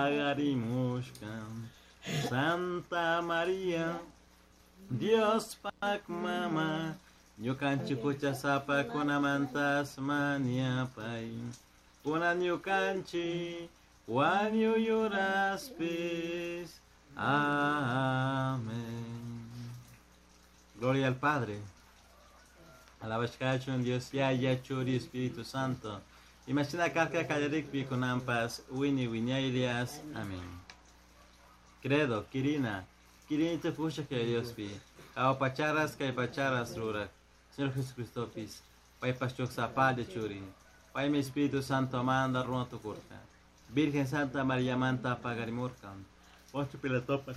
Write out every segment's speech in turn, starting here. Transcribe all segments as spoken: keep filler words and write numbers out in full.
Pagarimushka Santa Maria Dios pak mama ñukanchik huchasapakunamantas mañapay kunan ñukanchik wañuyuraspis. Amén. Gloria al Padre. Alabashkachun Dios Yaya, Churi, Espíritu Santo. Imagina karka kallarikpi kunanpas wini wiñaylias. Amén. Credo, Kirina, Kirini tukusha que Diospi. Pacharas kay pacharas rurak. Señor Jesucristopis. Paypas chuksapalla churi. Paymi Espíritu Santo manda runa tukurka. Virgen Santa María manta pagarimurka. Poncio Pilatopa.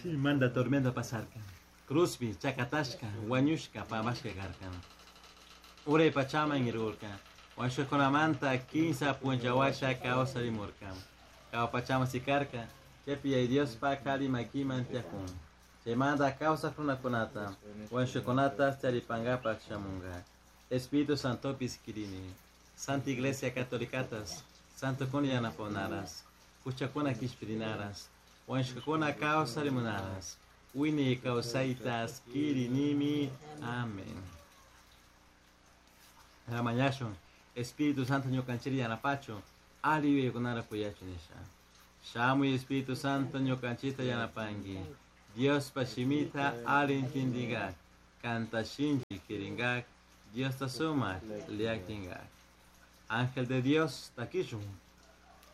Manda tormenta pasarka. Cruzpi, chakatashka, wañushka, pamashka karka. Uray pachaman irurka. Wañushkakunamanta kinsa punchawasha kawsarimurka. Kawa pachama sikarka. Chaypi yay Diospa kari makiman tiyakun. Chaymanta kawsaq runakunata, wañushkakunata charipankapaq shamunka. Espíritu Santopis kirini. Santa Iglesia Católicatas, Santo kuna yanapakunaras, huchakuna kishpirinaras, wañushkakuna kawsarimunaras, wiñay kawsaytas kirinimi. Amén. Mañashun, Espíritu Santo ñukanchiri yanapachu, ali yuyaykunara kuyachu nisha. Shamuy Espíritu Santo ñukanchita yanapanki. Diospa shimita ali intindingak, kanta shinchi kiringak, Diosta sumak liaktingak. Ángel de Dios, takishun.